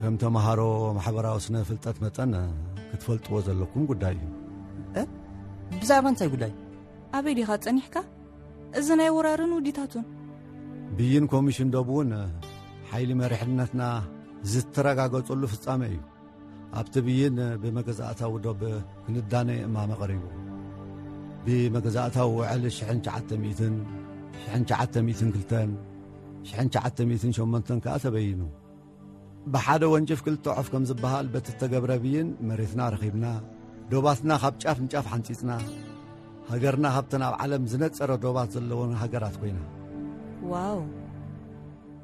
ከም ተምሃሮ ማሕበራዊ ስነ ፍልጠት መጠን ክትፈልጥዎ ዘለኩም ጉዳይ እዩ። እ ብዛዕባ እንታይ ጉዳይ? ኣበይ ዲኻ ጸኒሕካ? እዚ ናይ ወራርን ውዲታቱን። ብይን ኮሚሽን ዶብ እውን ሓይሊ መሪሕነትና ዝተረጋገጸሉ ፍጻመ እዩ። ኣብቲ ብይን ብመገዛእታዊ ዶብ ክንዳነ እማመ ቀሪቡ። ብመገዛእታዊ ውዕል ሽሕን ትሽዓተ ሚእትን፣ ሽሕን ትሽዓተ ሚእትን ክልተን፣ ሽሕን ትሽዓተ ሚእትን ሸሞንተን ከኣ ተበይኑ። ብሓደ ወንጭፍ ክልተ ዑፍ ከም ዝበሃል በቲ እተገብረ ብይን መሬትና ረኺብና፣ ዶባትና ካብ ጫፍ ንጫፍ ሓንጺጽና፣ ሃገርና ካብተን ኣብ ዓለም ዝነጸረ ዶባት ዘለወን ሃገራት ኮይና። ዋው፣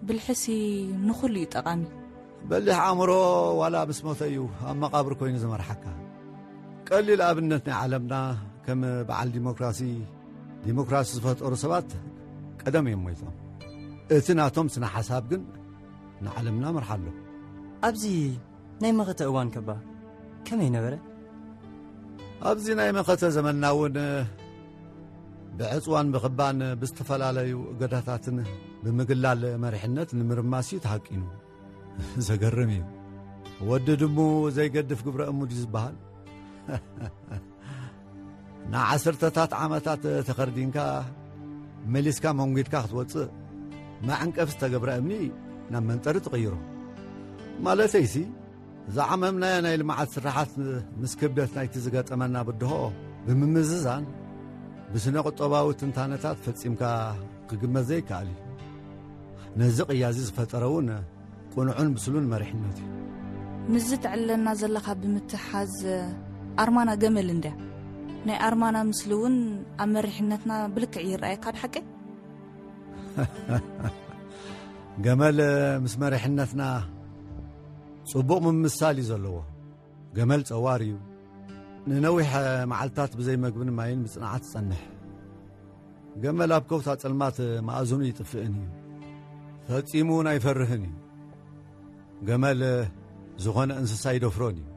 ብልሕሲ ንኹሉ እዩ ጠቓሚ። በሊሕ ኣእምሮ ዋላ ምስ ሞተ እዩ ኣብ መቓብር ኮይኑ ዝመርሓካ። ቀሊል ኣብነት ናይ ዓለምና ከም በዓል ዲሞክራሲ፣ ዲሞክራሲ ዝፈጠሩ ሰባት ቀደም እዮም ሞይቶም። እቲ ናቶም ስነ ሓሳብ ግን ንዓለምና መርሓ ኣሎ። ኣብዚ ናይ መኸተ እዋን ከባ ከመይ ነበረ? ኣብዚ ናይ መኸተ ዘመንና እውን ብዕፅዋን ብኽባን ብዝተፈላለዩ እገዳታትን ብምግላል መሪሕነት ንምርማስ እዩ ተሃቂኑ። ዘገርም እዩ። ወዲ ድሙ ዘይገድፍ ግብረ እሙ ድዩ ዝበሃል? ንዓሰርተታት ዓመታት ተኸርዲንካ መሊስካ መንጒድካ ክትወፅእ መዐንቀፍ ዝተገብረ እምኒ ናብ መንጠሪ ትቕይሮ። ማለተይሲ ዝዓመምናዮ ናይ ልምዓት ስራሓት ምስ ክብደት ናይቲ ዝገጠመና ብድሆ ብምምዝዛን ብስነ ቁጠባዊ ትንታነታት ፈጺምካ ክግመት ዘይከኣል እዩ። ነዚ ቅያዚ ዝፈጠረ እውን ቅኑዕን ብስሉን መሪሕነት እዩ። ምስዚ ትዕለና ዘለኻ ብምትሓዝ ኣርማና ገመል እንድያ። ናይ ኣርማና ምስሊ እውን ኣብ መሪሕነትና ብልክዕ ይረኣየካ ድሓቂ? ገመል ምስ መሪሕነትና ጽቡቕ ምምሳል እዩ ዘለዎ። ገመል ጸዋር እዩ። ንነዊሕ መዓልታት ብዘይ መግብን ማይን ብጽንዓት ይጸንሕ። ገመል ኣብ ከውታ ጸልማት መኣዝኑ ይጥፍእን እዩ። ፈጺሙ እውን ኣይፈርህን እዩ። ገመል ዝኾነ እንስሳ ይደፍሮን እዩ።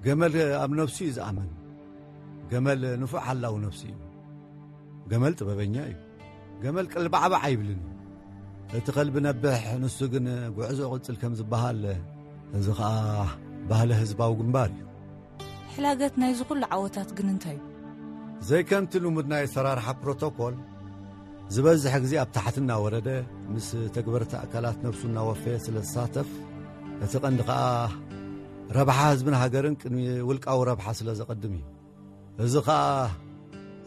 ገመል ኣብ ነፍሱ እዩ ዝኣምን። ገመል ንፉዕ ሓላው ነፍሱ እዩ። ገመል ጥበበኛ እዩ። ገመል ቀልባዕባዕ ኣይብልን እዩ። እቲ ከልቢ ነብሕ ንሱ ግን ጉዕዞ ቅጽል ከም ዝበሃል፣ እዚ ኸኣ ባህሊ ህዝባዊ ግንባር እዩ። ሕላገት ናይዚ ኩሉ ዓወታት ግን እንታይ እዩ? ዘይከምቲ ልሙድ ናይ ኣሰራርሓ ፕሮቶኮል፣ ዝበዝሕ ግዜ ኣብ ታሕቲ እናወረደ ምስ ተግበርቲ ኣካላት ነብሱ እናወፈየ ስለ ዝሳተፍ፣ እቲ ቀንዲ ኸኣ ረብሓ ህዝብን ሃገርን ቅድሚ ውልቃዊ ረብሓ ስለ ዘቐድም እዩ። እዚ ኸኣ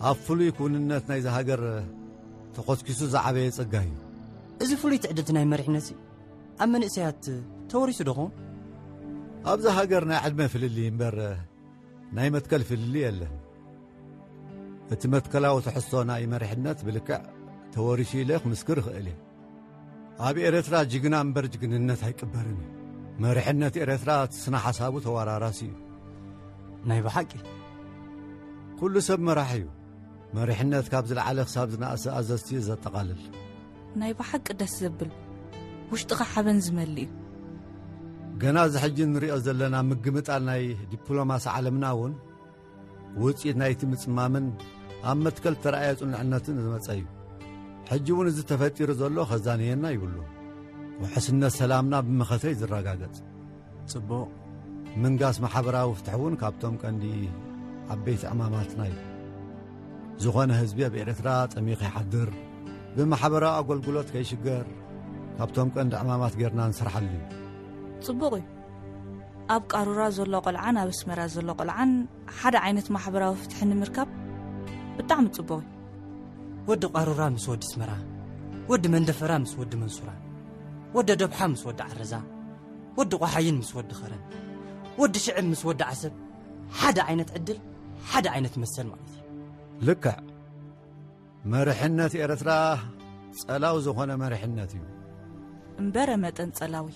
ኣብ ፍሉይ ክውንነት ናይዚ ሃገር ተኾስኪሱ ዝዓበየ ጸጋ እዩ። እዚ ፍሉይ ትዕድልቲ ናይ መሪሕነት ኣብ መንእሰያት ተወሪሱ ዶ ኸውን? ኣብዚ ሃገር ናይ ዕድመ ፍልልይ እምበር ናይ መትከል ፍልልይ የለን። እቲ መትከላዊ ትሕዝቶ ናይ መሪሕነት ብልክዕ ተወሪሱ ኢለ ክምስክር እኽእል እየ። ኣብ ኤረትራ ጅግና እምበር ጅግንነት ኣይቅበርን እዩ። መሪሕነት ኤረትራ እቲ ስነ ሓሳቡ ተወራራሲ እዩ። ናይ ብሓቂ ኩሉ ሰብ መራሒ እዩ። መሪሕነት ካብ ዝለዓለ ክሳብ ዝነኣሰ ኣዘዝቲ እዩ ዘጠቓልል። ናይ ብሓቂ ደስ ዘብል፣ ውሽጥኻ ሓበን ዝመልእ እዩ። ገና እዚ ሕጂ ንሪኦ ዘለና ምግምጣል ናይ ዲፕሎማሲ ዓለምና እውን ውጽኢት ናይቲ ምጽማምን ኣብ መትከል ተራእየ ጽኑዕነትን ዝመጸ እዩ። ሕጂ እውን እዚ ተፈጢሩ ዘሎ ከዛንየና ይብሉ። ውሕስነት ሰላምና ብመኸተ እዩ ዝረጋገጽ። ጽቡቕ። ምንጋስ ማሕበራዊ ፍትሒ እውን ካብቶም ቀንዲ ዓበይቲ ዕማማትና እዩ። ዝኾነ ህዝቢ ኣብ ኤርትራ ጠሚዩ ከይሓድር፣ ብማሕበራዊ ኣገልግሎት ከይሽገር ካብቶም ቀንዲ ዕማማት ጌርና ንሰርሓሉ እዩ። ጽቡቕ እዩ። ኣብ ቃሩራ ዘሎ ቆልዓን ኣብ ኣስመራ ዘሎ ቆልዓን ሓደ ዓይነት ማሕበራዊ ፍትሒ ንምርካብ ብጣዕሚ ጽቡቕ እዩ። ወዲ ቃሩራ ምስ ወዲ ኣስመራ፣ ወዲ መንደፈራ ምስ ወዲ መንሱራ፣ ወዲ ደብሓ ምስ ወዲ ዓረዛ፣ ወዲ ቆሓይን ምስ ወዲ ኸረን፣ ወዲ ሽዕብ ምስ ወዲ ዓሰብ ሓደ ዓይነት ዕድል፣ ሓደ ዓይነት መሰል ማለት እዩ። ልክዕ። መሪሕነት ኤርትራ ጸላው ዝኾነ መሪሕነት እዩ። እምበረ መጠን ጸላዊ።